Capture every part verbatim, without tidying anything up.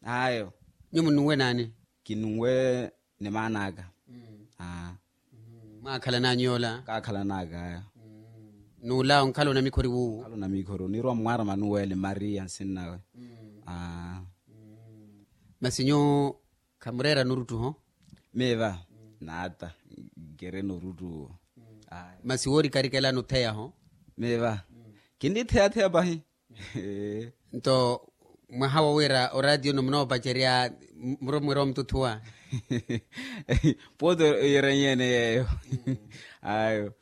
Ayo. Nyuwo mununwe naani? Kinunwe ni maan'aka. Aa. Mwaakhalananyu yoola? Kaakhalan'aka ayo. N'ula onkhala onamikhori wuwo? Onkhala onamikhori oniirwa mmwaara manuwele maria nsinnawe. Aa. Masi nyuwo khamureera nuruttuho? Miiva naata nkeri nuruttuwo. Masi woorikarikela nutheyaho? Miiva kinnitheyatheya pahi. Nto mwaha wo wira oraatiyo-no munoopacerya muromwira omututhuwa? Pooti oyiranyeene yeeyo. Ayo.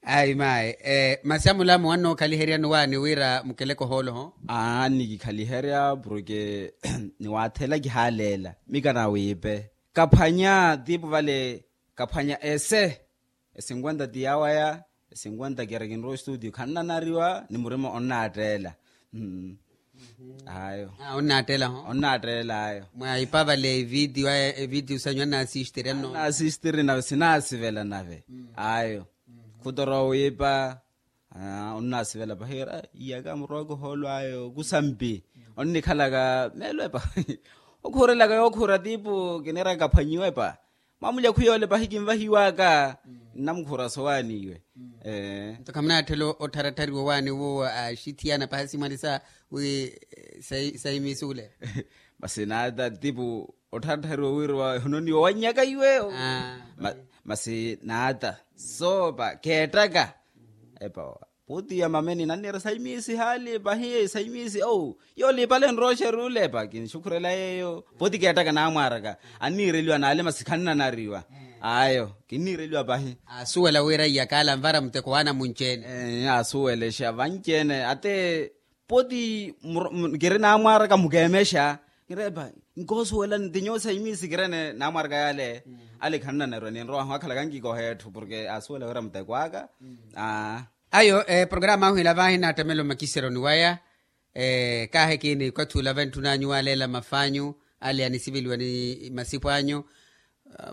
Ayi mayi. Masi amulamu wannookhaliheryani waani wira mukeleke ohooloho? Aa nnikikhaliherya porke niwaatheela kihaaleela mikanawiipe. Kaphwanya tiipu vale kaphwanya ese. Esinkwenta ti yawaya esinkwenta kira kinrowa estudio khannanariwa ni murima onnaatteela. Ayo. Onnaatteela ayo. Mwa ipavale evitiyo sanyu annaasistiri anno? Annaasistiri nave sinaasivela nave. Ayo. Khutorowa wiipa. Onnaasivela pahi wira iyaka murowaka ohoolo ayo kusampi onnikhalaka meelo epa. Okhuurelaka yookhuura tiipu kiniraka kaphwanyiwa epa. Mwamulya khwiyoole pahi kinvahiwaka nnamukhuura sowaani iwe. Nto khamunaatthela ottharatthariwa owaani wuwo axithiyana pahi asimwalisa wi saimisi ule. Masi naata tipu ottharatthariwa wira wahononiwa wannyaka iwe. Masi naata soopa keettaka epa. Pooti ya mameni nanniira saimisi haali pahi saimisi ou. Yoolipale nroxeri ule epa kinxukhurela yeeyo pooti keettaka naamwaaraka. Anniireliwa naale masi khannanariwa. Ayo kinniireliwa pahi. Asuwela wira iyakaala anvara muteko waana munci-ene. Asuwelexa vanci-ene ate pooti kiri naamwaaraka mukeemexa. Kiri epa nkoosuwela nti nyuwo saimisi kiri ene naamwaaraka yaale. Ale khannanariwa ninrowahu akhalaka nkikoha etthu porke asuwela wira muteko aka. Ayo programa ahu ila vahi naattamela omakiseroni waya. Kaahi kiini okathi ula vantthun'anyu waaleela maf'anyu ale anisiveliwa ni masipo anyu.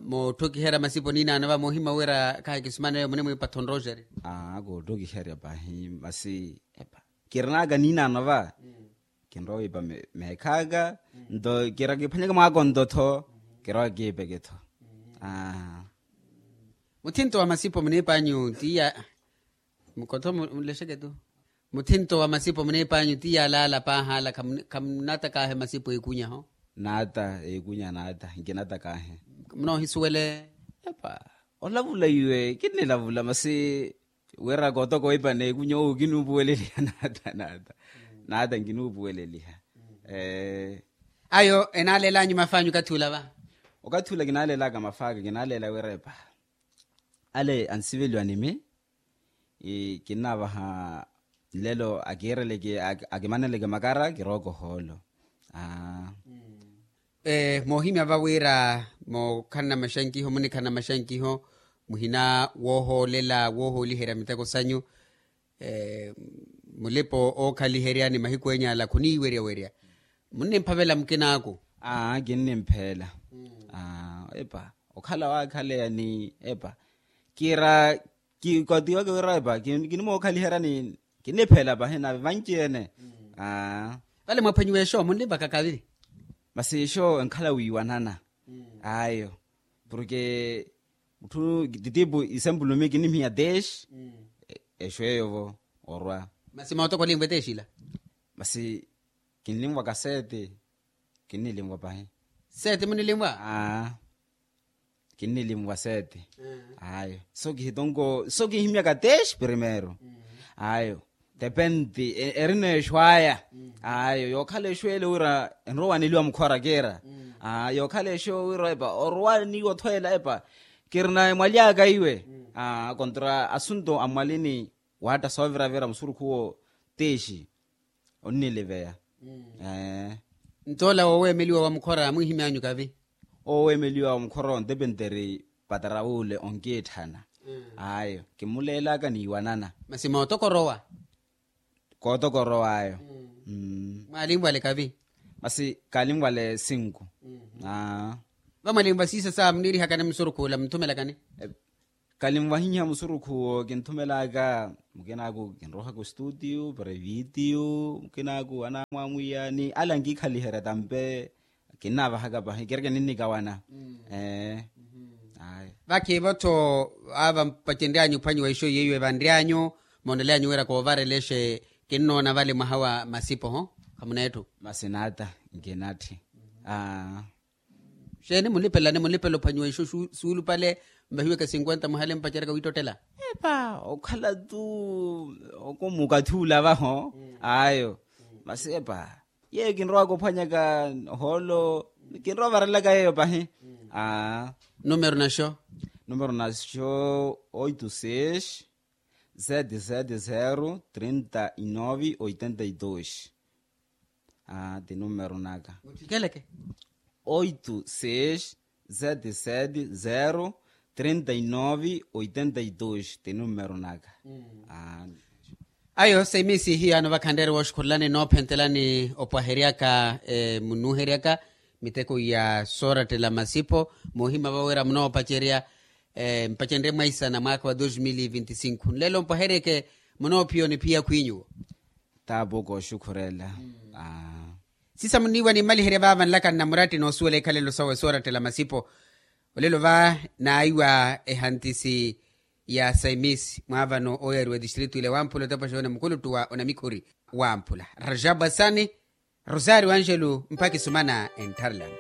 Mootthokiherya masipo niinaano va moohimya wira kaahi kisumaneyo munimwiipatha onroxeri. Aa kootthokiherya pahi masi epa kirin'aka niinaano va. Kinrowa wiipa meekh'aka nto kira kiphwanyeke mwaaka onto-tho. Kirowa kiipeke-tho. Muthinto wa masipo muniip'anyu tiya. Mukotho mulexeke tu. Muthinto wa masipo muniip'anyu tiya alaala paahaala. Khamunatakahe masipo eekunyaho? Naata eekunya naata nkinatakahe. Munoohisuwele? Epa olavula iwe kinnilavula masi wira kootoko wiipa neekunya owo kinuupuweleliha naata naata. Naata nkinuupuweleliha. Ayo enaaleel'anyu maf'anyu okathi ula va? Okathi ula kinaaleel'aka maf'aka kinaaleela wira epa ale ansiveliwa nimi. Kinnaavaha nlelo akiireleke akimaneleke makara kirooka ohoolo. Moohimya va wira mookhalana maxankiho munikhalana maxankiho muhina woohoolela woohooliherya miteko sanyu. Mulipa ookhaliheryani mahiku enya ala khuniiwerya werya. Munnimphavela mukinaaku? Aa kinnimpheela. Epa okhala waakhaleya ni epa kira kikotiweke wira epa kinimookhaliheryani. Kinniphela pahi nave vanci-ene. Vale mwaphwanyiwa exoo munlivaka kavi? Masi exoo enkhala wiiwanana. Ayo porke mutthu titipu isempulumi kinnihiya teex. Exoo eyovo orwa. Masi mootoko olinvwa eteex ila? Masi kinlinvwaka seeti. Kinnilinvwa pahi. Seeti munilinvwa? Kinnilinvwa seeti. Ayo so kihitonko so kinhimyaka teex primeiro. Ayo depende erina exwaya. Ayo yookhala exweele wira enrowaneliwa mukhora kiira. Yookhala exoo wira epa orowaniwa othweela epa kirina emwali aka iwe. Kontra asunto a mwalini waatta sooviravira musurukhu wo teex. Onniliveya. Nto ola wooweemeliwa wa mukhora mwiihimy'anyu kavi? Oweemeliwa wa mukhora ontepenteri patara wuule onkiitthana. Ayo kimuleelaka niiwanana. Masi mootokorowa? Kootokorowa ayo. Mwaalinvwale kavi? Masi kaalinvwale sinku. Vamwalinvwa siisa sa muniirihakani musurukhu ula munthumelakani? Kalinwahiha musurukhu wo kinthumelaka mukinaaku kinrohaka ostutiu para evitiyu mukinaaku anaamwamwiya ni ala nkikhaliherya tampe. Kinnaavahaka pahi kireke ninnikawana. Ee. Ayi. Vakhiivo-tho ava mpacenryanyu ophwanyiwa ixo yeiwe vanryanyu moonelyanyu wira koovarelexe kinnoona vale mwaha wa masipo ho. Khamuneetthu. Masi naata nkinatthi. Aa. Xeeni munlipelani munlipela ophwanyiwa ixo suulupale? Mvahiweke cinquenta muhale mpaceryaka wiittottela. Epa okhala tu okumukathi ulavaho. Ayo. Masi epa yeyo kinrowaka ophwanyaka ohoolo. Kinrowa ovarelaka yeyo pahi. Aa. Numero naxo? Numero naxo oito seis sete sete zero trinta e nove oitenta e dois. Aa ti numero naka. Muttikeleke. Oito seis sete sete zero trinta e nove oitenta e dois ti numero naka. Aa. Ayo saimisi hiyano vakhanreeri wooxukhulelani noophentelani opwaheryaka munuuheryaka miteko ya soorattela masipo. Moohimya vawira munoopacerya mpacenrye mwaisana mwaakha wa dos mil e vinti cinco nlelo mpwaheryeke. Munoophiya oniphiya khwinyuwo. Taapoko oxukhurela. Sisa muniiwa nimmaliherye vaava nlaka nnamuratti noosuwela ikhalelo sawe soorattela masipo. Olelo va naiwa ehantisi ya saimis mwaavano ooyariwa etistritu ile wamphula otepa xoona mukuluttu wa onamikhuri wamphula. Rajabu asani, rosario angelo mpakhi sumana enttharelani.